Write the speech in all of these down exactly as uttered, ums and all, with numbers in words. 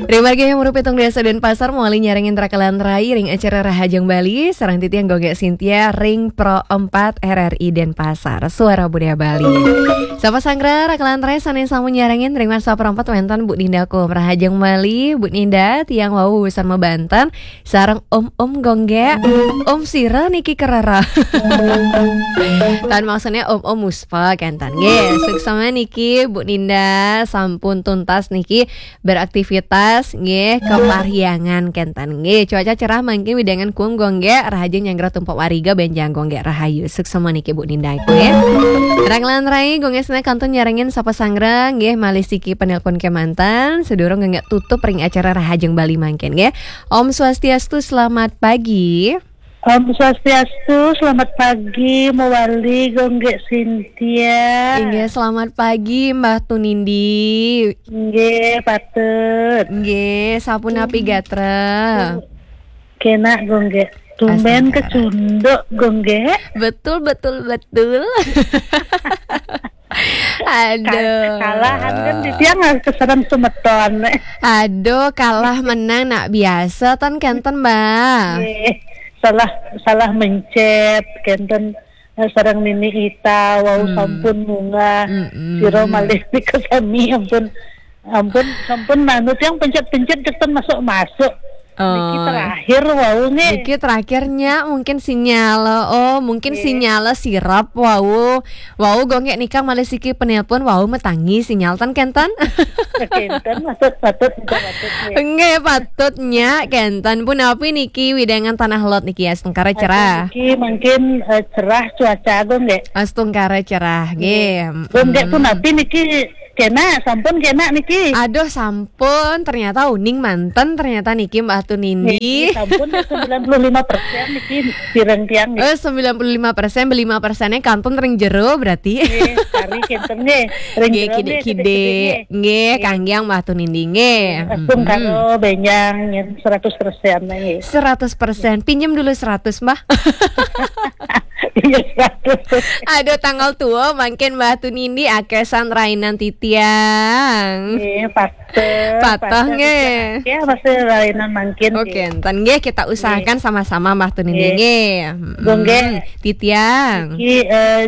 Ring margi nomor pitung dasa Denpasar, mawali nyarengin rakelan rai ring acara Rahajeng Bali, sareng titiang Gung Gek Sintia ring Pro Empat R R I Denpasar, Suara Budaya Bali. Sapa sanggra rakelan rai sane sampun nyarengin ring WhatsApp Pro Empat wenten Bu Ninda Kum. Rahajeng Bali, Bu Ninda, tiang wau wusan mabanten, sareng Om-om Gung Gek. Om sira niki kerara. Tan maksudnya Om-om Muspa kenten. Nggih, suksma niki Bu Ninda sampun tuntas niki beraktivitas nggih ke Parhyangan kenten. Nggih, cuaca cerah mangkin wewidangan kuum Gung Gek, rahajeng nyanggra tumpek wariga benjang Gung Gek rahayu. Suksma niki Bu Ninda nggih. Rakelan rai Gung Gek sane kantun nyarengin sapa sanggra nggih malih siki penelpon kemanten sadurung Gung Gek tutup ring acara Rahajeng Bali mangkin nggih. Om Swastiastu, selamat pagi. Om Swastiastu, selamat pagi, mawali Gung Gek Sintia. Inggih, selamat pagi, Mbah Tunindi. Inggih, patut. Inggih, sapunapi gatra? Kenak, Gung Gek. Tumben astungkara kecunduk, Gung Gek. Betul, betul, betul. Aduh. Kal-, kalahan kan titiang harus keserang semeton. Aduh, kalah menang nak biasa tan kenten, Mbah. Nggih. Salah, salah mencet, kenten, eh, sareng Nini Ita, wau hmm, sampun munggah. Mm-mm. Sira malih nika sami, ampun. Ampun, sampun anu tiang pencet-pencet kenten masuk-masuk. Niki oh, terakhir wau nggih. Niki terakhirnya mungkin sinyal. Oh, mungkin nggih, sinyal sirep wau. Wau Gung Gek nika malih siki penelpon wau matangi sinyal tan kenten. Kenten, patut, patut, patut, patut, nggih. Nggih, patut nya kenten. Punapi niki wewidangan Tanah Lot niki astungkara cerah? Aduh, niki mungkin, eh, cerah cuaca Gung Gek. Astungkara cerah nggih. Nggih. Gung Gek mm-mm, punapi niki kenak, sampun kenak niki. Aduh, sampun. Ternyata uning manten ternyata niki Mbah Tunindi. Nggih, sampun sembilan puluh lima persen niki pireng tiang nggih. Eh, sembilan puluh lima persen, lima persennya kantun ring jero berarti. Nggih, kari kenten nggih. Ring nggih, jero nggih, kidik-kidik. Kidik-kidik nggih. Nggih, nggih, kanggiang Mbah Tunindi nggih. Nggih, astungkara benjang nyen seratus persen nggih. Seratus persen. Pinjem dulu seratus, Mbah. Iya, seratus. Aduh, tanggal tua mangkin Mbah Tunindi akesan rainan titiang. Nggih, patut. Patut, patut nggih. Ya, masih rainan mangkin. Oke, nggih, enten nggih kita usahakan nggih, sama-sama Mbah Tunindi nggih, nggih. Mm-mm. Gung Gek. Titiang. Niki, eh,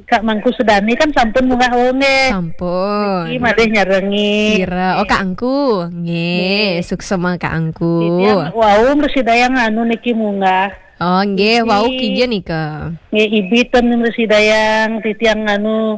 Kak Mangku Sedani kan sampun munggah wau nggih. Sampun. Niki malih nyarengi. Sira. Oh, nggih. Kak Angku. Nggih, nggih, suksma Kak Angku. Titiang wau mresidayang anu niki munggah. Oh, nggih, niki wau kija nika? Nggih, ibi ten mresidayang titiang anu,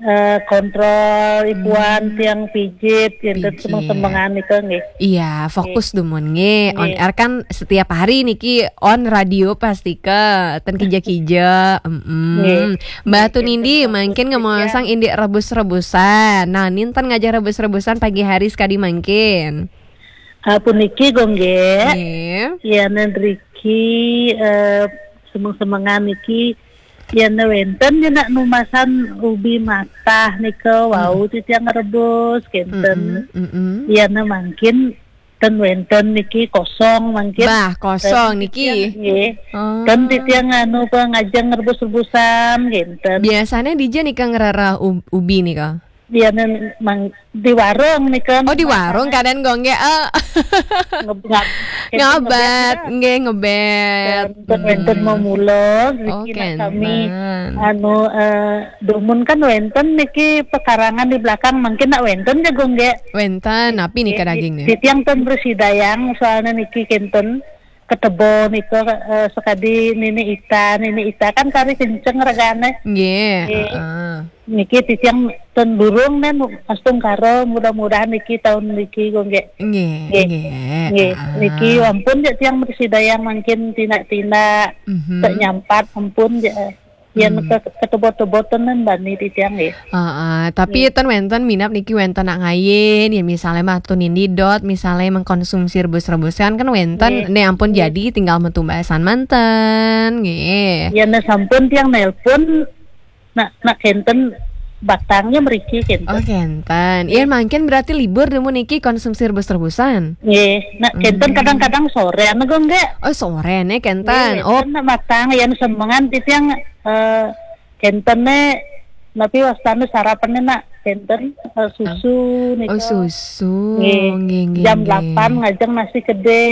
eh, kontrol ipuan hmm, tiang pijit, enten pijit. Semeng-semengan nika nggih. Iya, fokus nggih, dumun nggih. On nggih, air kan setiap hari niki on radio pastika, ten kija-kija. Mm-mm. Nggih. Mbah nggih, Tunindi, enten mangkin fokus ngemasang titiang indik rebus-rebusan. Nah, ninten ngajak rebus-rebusan pagi hari sekadi mangkin. Ah, puniki Gung Gek. Nggih. Iya, nen riki, eh, semeng-semengan niki, yen wenten nyenak numasan ubi matah nika, wau hmm, titiang rebus, kenten. Mm-mm, mm-mm. Yen mangkin ten wenten niki kosong mangkin. Bah, kosong niki. Ten titiang, nggih. Oh. Ten titiang anu pangajeng rebus-rebusan, kenten. Biasanya dija nika ngrereh ub-, ubi nika? Iya, neng mang-, di warung nika. Oh, di warung kadang Gung Gek, eh. Nge-, ngab-, ngabat, nggih, ngebet. Wenten, wenten hmm, memula, oh, niki nak sami, kenten. Anu, eh, dumun kan wenten niki pekarangan di belakang, mungkin nak wenten ja Gung Gek. Wenten, napi nika nggih, daging nih? Titiang ten mresidayang, soalnya niki kenten. Ketebo nika, eh, sekadi Nini Ita, Nini Ita kan kari kenceng regane. Nggih, nggih, heeh. Niki titiang ten durung nen astungkara, mudah-mudahan niki taun niki Gung Gek. Nggih, nggih, nggih, heeh. Niki ampun ja tiang mresidayang mangkin tindak-tindak, mhm, tek nyampat ampun ja. Yen hmm, ke-, ketebot-teboten nen bani titiang nggih. Heeh, tapi nggih, ten wenten minab niki wenten nak ngayin, ya misalnya Mbah Tunindi dot, misalnya mengkonsumsi rebus-rebusan kan wenten, nggih, ne ampun nggih, jadi tinggal metumbasan manten, nggih. Yen sampun tiang nelpon, nak, nak kenten batangnya mriki kenten. Oh, kenten. Nggih. Yen mangkin berarti libur dumun niki konsumsi rebus-rebusan? Nggih, nak kenten hmm, kadang-kadang sore, anu Gung Gek. Oh, sore ne kenten. Nggih, oh, kenten nak batang, yen semengan titiang, eh, kenten ne, napi wastane sarapane nak Kenten, eh, susu nika. Oh, susu. Nggih. Nggih, nggih, jam nggih. Delapan ngajeng nasi kede,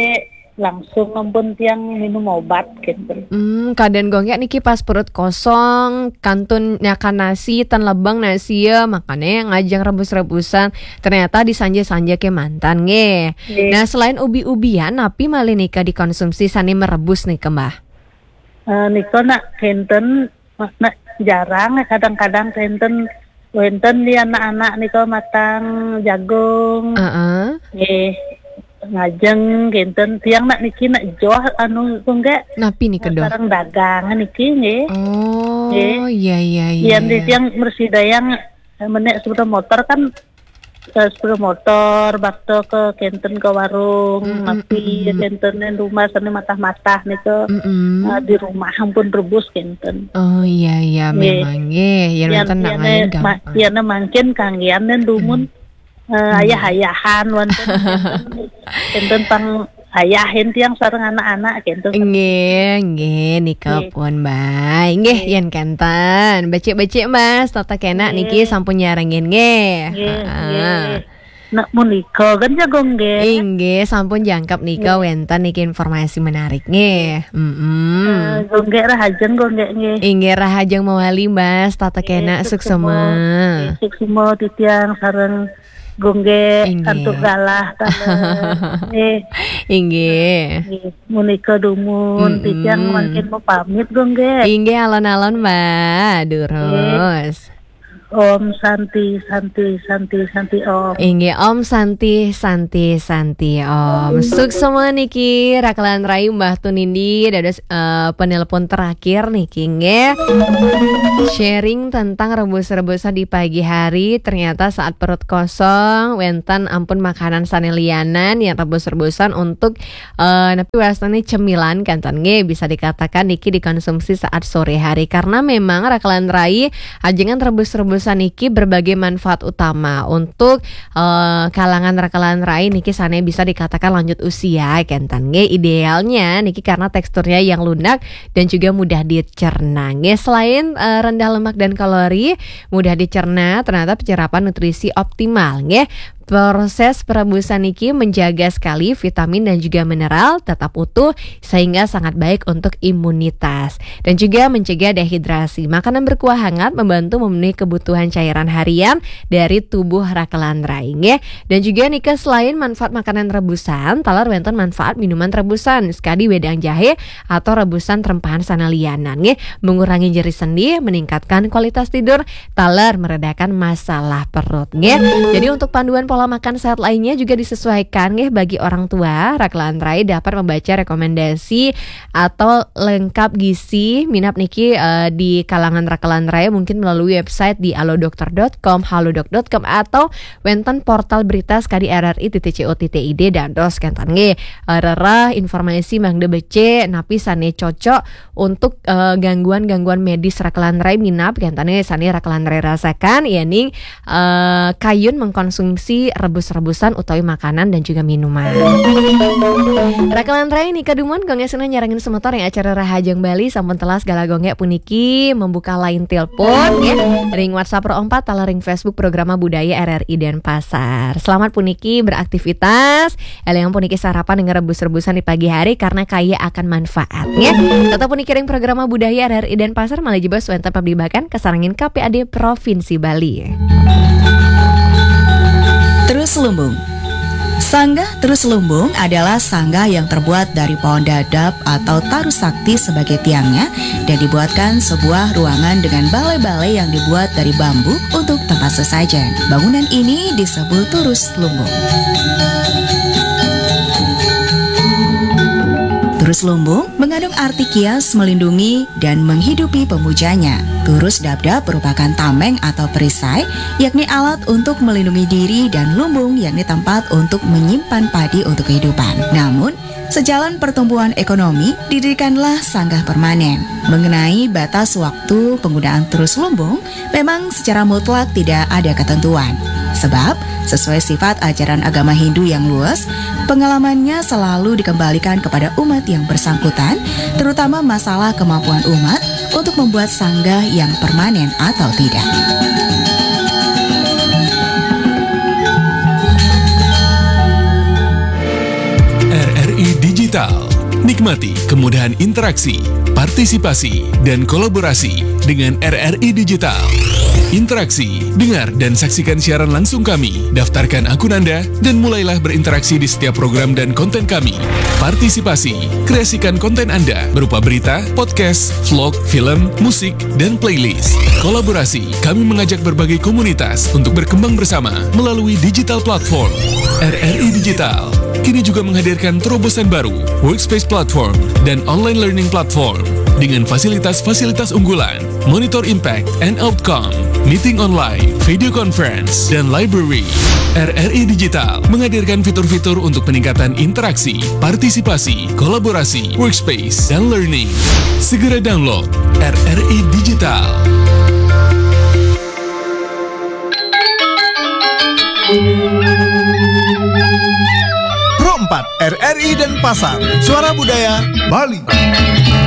langsung ampun tiang minum obat, kenten. Hmm, kadang Gung Gek niki pas perut kosong, kantun nyakan nasi, ten lebeng nasi ya, makanya ngajeng rebus-rebusan. Ternyata disanja-sanja kemanten, nggih. Nggih. Nah, selain ubi-ubian, napi malih nika dikonsumsi sane merebus nika, Mbah? Eh, nika nak kenten, nak jarang, kadang-kadang kenten, wenten di anak-anak nika matang jagung. Heeh. Nggih. Ngajeng kenten, tiang nak niki nak joh anu Gung Gek. Napi nika, Doh? Sareng dagang niki nggih. Oh, nggih. Iya, iya, iya, yen di iya. Tiang mrsidayang, eh, menek sepeda motor kan, eh, sepeda motor, bakto ke kenten ke warung, mm, mm, napi mm, mm. Kenten ning rumah sane matah-matah nika, mm, mm. Eh, di rumah ampun rebus kenten. Oh, iya, iya, nggih. Memang nggih. Yen wenten nak yen, ngayun ma-, gampang. Yen mangkin kanggian ning dumun. Hmm. Eh, hmm. Ayah-ayahan wonten, kenten pang ayahin tiang sareng anak-anak kenten. Nggih, nggih, nika nggih. Pun, Mbah. Nggih, nggih. Yen kenten. Becik-becik, Mas, tata kenak nggih. Niki sampun nyarengin nggih. Nggih, heeh. Nggih. Nak punika kan jagung nggih. Inggih, sampun jangkep nika nggih. Wenten niki informasi menarik nggih. Mm-mm. Eh, Gung Gek rahajeng, Gung Gek nggih. Inggih, rahajeng mawali, Mas, tata kenak, nggih, suksema. Suksema. Nggih, suksema titiang sareng Gung Gek, inggih. Antuk galah taler. Nggih. Inggih. Nggih, munika dumun, mm-mm. Titiang mangkin mau pamit, Gung Gek. Inggih, alon-alon, Mbak. Durus. Nggih. Om Santi, Santi, Santi, Santi, Om. Inggih, Om Santi, Santi, Santi, Om. Suksema niki, rakelan rai Mbah Tunindi, dados, eh, penelpon terakhir niki, nggih. Sharing tentang rebus-rebusan di pagi hari, ternyata saat perut kosong, wenten ampun makanan sane lianan yang rebus-rebusan untuk, eh, napi wastane cemilan kenten nggih, bisa dikatakan niki dikonsumsi saat sore hari. Karena memang rakelan rai, ajengan rebus-rebusan niki berbagai manfaat utama untuk, eh, kalangan rakelan rai niki sane bisa dikatakan lanjut usia kenten nggih. Idealnya niki karena teksturnya yang lunak dan juga mudah dicerna nggih. Selain, eh, rendah lemak dan kalori, mudah dicerna, ternyata penyerapan nutrisi optimal nggih. Proses perebusan niki menjaga sekali vitamin dan juga mineral tetap utuh sehingga sangat baik untuk imunitas dan juga mencegah dehidrasi. Makanan berkuah hangat membantu memenuhi kebutuhan cairan harian dari tubuh rakelan rai nggih. Dan juga nika selain manfaat makanan rebusan, taler wenten manfaat minuman rebusan, sekadi wedang jahe atau rebusan terempahan sane lianan nggih. Mengurangi nyeri sendi, meningkatkan kualitas tidur, taler meredakan masalah perut nggih. Jadi untuk panduan pola makan sehat lainnya juga disesuaikan nggih bagi orang tua. Rakelan rai dapat membaca rekomendasi atau lengkap gizi minab niki, eh, di kalangan rakelan rai mungkin melalui website di alodokter dot com, halodoc dot com atau wenten portal berita sekadi R R I titik C O titik I D dados kenten nggih. Eh, rereh informasi mangda becik napi sane cocok untuk, eh, gangguan-gangguan medis rakelan rai minab kenten nggih sane rakelan rai rasakan, yening, eh, kayun mengkonsumsi rebus-rebusan utawi makanan dan juga minuman. Rakelan rai nika dumun, Gung Gek sinah nyarengin semeton ring acara Rahajeng Bali, sampun telas galah Gung Gek puniki membuka line telepon, ya, ring WhatsApp Pro empat, taler ring Facebook Programa Budaya R R I Denpasar. Selamat puniki beraktivitas, elingang puniki sarapan dengan rebus-rebusan di pagi hari karena kaya akan manfaat, ya. Tetap puniki ring Programa Budaya R R I Denpasar, malih jebos wenten pablibakan kasarengin K P A D Provinsi Bali. Terus Lumbung. Sanggah Terus Lumbung adalah sanggah yang terbuat dari pohon dadap atau taru sakti sebagai tiangnya dan dibuatkan sebuah ruangan dengan balai-balai yang dibuat dari bambu untuk tempat sesajen. Bangunan ini disebut Terus Lumbung. Terus Lumbung mengandung arti kias melindungi dan menghidupi pemujanya. Turus dabdab merupakan tameng atau perisai, yakni alat untuk melindungi diri, dan lumbung, yakni tempat untuk menyimpan padi untuk kehidupan. Namun, sejalan pertumbuhan ekonomi, didirikanlah sanggah permanen. Mengenai batas waktu penggunaan Terus Lumbung, memang secara mutlak tidak ada ketentuan. Sebab, sesuai sifat ajaran agama Hindu yang luwes, pengalamannya selalu dikembalikan kepada umat yang bersangkutan, terutama masalah kemampuan umat untuk membuat sanggah yang permanen atau tidak. Nikmati kemudahan interaksi, partisipasi, dan kolaborasi dengan R R I Digital. Interaksi, dengar dan saksikan siaran langsung kami. Daftarkan akun Anda dan mulailah berinteraksi di setiap program dan konten kami. Partisipasi, kreasikan konten Anda berupa berita, podcast, vlog, film, musik, dan playlist. Kolaborasi, kami mengajak berbagai komunitas untuk berkembang bersama melalui digital platform. R R I Digital kini juga menghadirkan terobosan baru, Workspace Platform dan Online Learning Platform dengan fasilitas-fasilitas unggulan, Monitor Impact and Outcome, Meeting Online, Video Conference, dan Library. R R I Digital menghadirkan fitur-fitur untuk peningkatan interaksi, partisipasi, kolaborasi, workspace, dan learning. Segera download R R I Digital. Pro empat, R R I Denpasar, Suara Budaya Bali.